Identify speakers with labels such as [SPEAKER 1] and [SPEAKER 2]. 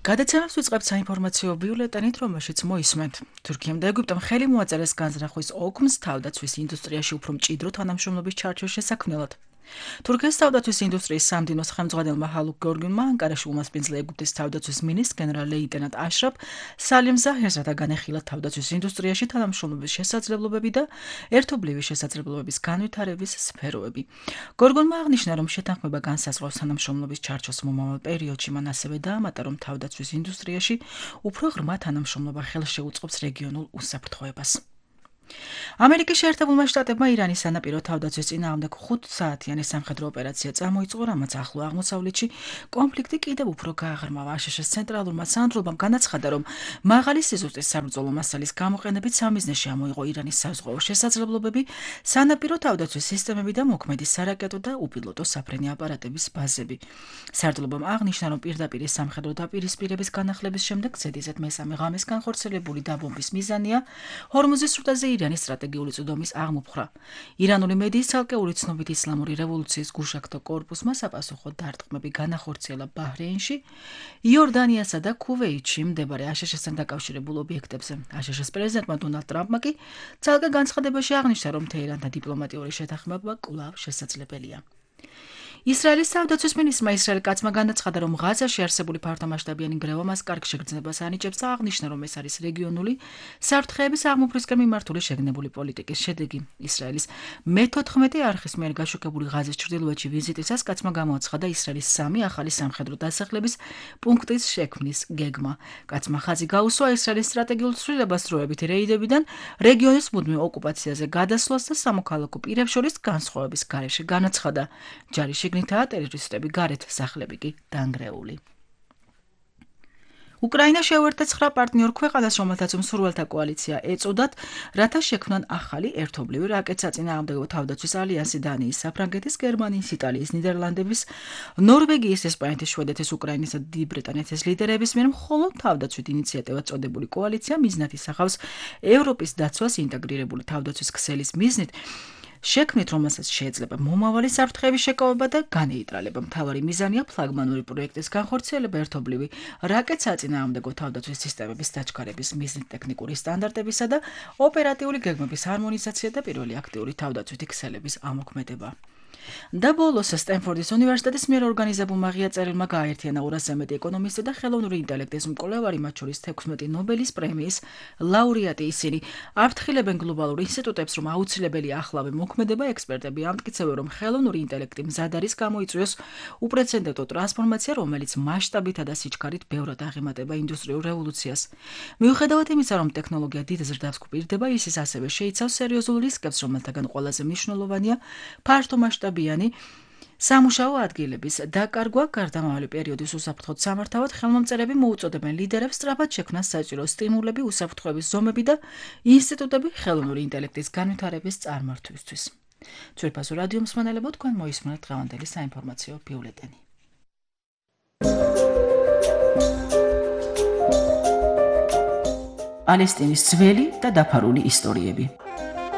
[SPEAKER 1] გადაცემას ვიწყებთ საინფორმაციო ბიულეტენით, რომელშიც მოისმენთ. თურქიამ და ეგვიპტემ ხელი მოაწერეს განზრახვის ოგმს თავდაცვის ინდუსტრიაში უფრო მჭიდრო თანამშრომლობის ჩარჩოს შესაქმნელად. თურქეთის თავდაცვის ინდუსტრიის სამდივნოს ხელმძღვანელმა ჰალუქ გორგუნმა ანკარაში უმასპინძლა ეგვიპტის თავდაცვის მინისტრს გენერალ-ლეიტენანტ აშრაფ სალიმ ზაჰერს, რათა განეხილა თავდაცვის ინდუსტრიაში თანამშრომლობის შესაძლებლობები და ერთობლივი შესაძლებლობების განვითარების სფეროები. გორგუნმა აღნიშნა, რომ შეთანხმება განსაზღვრავს თანამშრომლობის ჩარჩოს მომავალ პერიოდში, მან ასევე დაამატა, რომ თავდაცვის ინდუსტრიაში უფრო ღრმა თანამშრომლობა ხელს შეუწყობს რეგიონულ უსაფრთხოებას. ამერიკის შეერთებულმა შტატებმა ირანის სანაპირო თავდაცვის წინააღმდეგ 5 საათიანი სამხედრო ოპერაცია წამოიწყო, რამაც ახლო აღმოსავლეთში კონფლიქტი კიდევ უფრო გააღრმავა. აშშ-ის ცენტრალურმა სანდრობამ განაცხადა, რომ მაღალი სიზუსტის საბრძოლო მასალის გამოყენებით სამიზნეში ამოიღო ირანის საზღვაო შესაძლებლობები, სანაპირო თავდაცვის სისტემები და მოქმედი სარაკეტო და უპილოტო საფრენი აპარატების ბაზები. სარდლობამ აღნიშნა, რომ პირდაპირ სამხედრო დაპირისპირების განახლების შემდეგ ზედიზედ მესამე ღამეს განხორციელებული დაბომბვის მიზანია ჰორმუზის სრუტეზე ირანის სტრატეგიული წვდომის აღმოფხვრა. ირანული მედიის ცალკეული ცნობით ისლამური რევოლუციის გუშაგთო კორპუსმა საპასუხო დარტყმები განახორციელა ბაჰრეინში, იორდანიასა და ქუვეითში მდებარე აშშ-სთან დაკავშირებულ ობიექტებზე. აშშ-ის პრეზიდენტმა დონალდ ტრამპმა კი ცალკე განცხადებაში აღნიშნა, რომ თეირანთან დიპლომატიური შეთანხმება კვლავ შესაძლებელია. ისრაელის თავდაცვის მინისტრმა ისრაელ კაცმა განაცხადა, რომ ღაზაში არსებული ფართომასშტაბიანი გრევა მას კარგ შეგრძნებას ანიჭებს და აღნიშნა, რომ ეს არის რეგიონული საფრთხეების აღმოფხვისკენ მიმართული შეგნებული პოლიტიკის შედეგი. ისრაელის მე-14 არხის მიერ გაშუქებული ღაზის ჩრდილოეთში ვიზიტისას კაცმა გამოაცხადა ისრაელის 3 ახალი სამხედრო დასახლების პუნქტის შექმნის გეგმა. კაცმა ხაზი გაუსვა ისრაელის სტრატეგიულ ცვლილებას დროებითი რეიდებიდან რეგიონის მუდმივ ოკუპაციაზე გადასვლას და სამოქალაქო პირებს შორის განსხვავების გარეშე. განაცხადა, ჯარი შიგნითაა ტერორისტები, გარეთ სახლები კი დანგრეული. უკრაინა შეუერთდა 9 პარტნიორ ქვეყანას, რომელთაც მსურველთა კოალიცია ეწოდათ, რათა შექმნან ახალი ერთობლივი რაკეტსაწინააღმდეგო თავდაცვის ალიანსი დანიის, საფრანგეთის, გერმანიის, იტალიის, ნიდერლანდების, ნორვეგიის, ესპანეთის, შვედეთის, უკრაინისა და დიდი ბრიტანეთის ლიდერების მიერ მხოლოდ თავდაცვით ინიციატივად წოდებული კოალიცია მიზნად ისახავს ევროპის დაცვას ინტეგრირებული თავდაცვის ქსელის მიზნით, შექმნით, რომელსაც შეიძლება მომავალი საფრთხეების შეკავება და განეიტრალება. მთავარი მიზანია ფლაგმანური პროექტის განხორციელება, ერთობლივი რაკეტსაწინააღმდეგო თავდაცვის სისტემების დაჩქარების მიზნით, ტექნიკური სტანდარტებისა და ოპერატიული გეგმების ჰარმონიზაცია და პირველი აქტიური თავდაცვითი ქსელების ამოქმედება. და ბოლოს სტენფორდის უნივერსიტეტის მიერ ორგანიზებულმა ღია წერილმა გააერთიანა 200-ზე მეტი ეკონომისტი და ხელოვნური ინტელექტის მკვლევარი, მათ შორის 16 ნობელის პრემიის ლაურეატი. ისინი აფრთხილებენ გლობალურ ინსტიტუტებს, რომ აუცილებელია ახლავე მოქმედება. ექსპერტები ამტკიცებენ, რომ ხელოვნური ინტელექტი მზად არის გამოიწვიოს უპრეცედენტო ტრანსფორმაცია, რომელიც მასშტაბითა და სიჩქარით ბევრად აღემატება ინდუსტრიულ რევოლუციას. მიუხედავად იმისა, რომ ტექნოლოგია დიდ ზრდას გვპირდება, ის ასევე შეიცავს სერიოზულ რისკებს, რომელთაგან ყველაზე მნიშვნელოვანია ფართომასშტაბიანი სამუშაო ადგილების დაკარგვა. გარდამავალი პერიოდის უსაფრთხოდ სამართავად ხელმომწერები მოუწოდებენ ლიდერებს სწრაფად შექმნას საჭირო სტიმულები, უსაფრთხოების ზომები და ინსტიტუტები ხელოვნური ინტელექტის განვითარების წარმართვისთვის. ძვირფასო რადიო მსმენელებო, თქვენ მოისმენთ დღევანდელი საინფორმაციო ბიულეტენი. პალესტინის ძველი და დაფარული ისტორიები.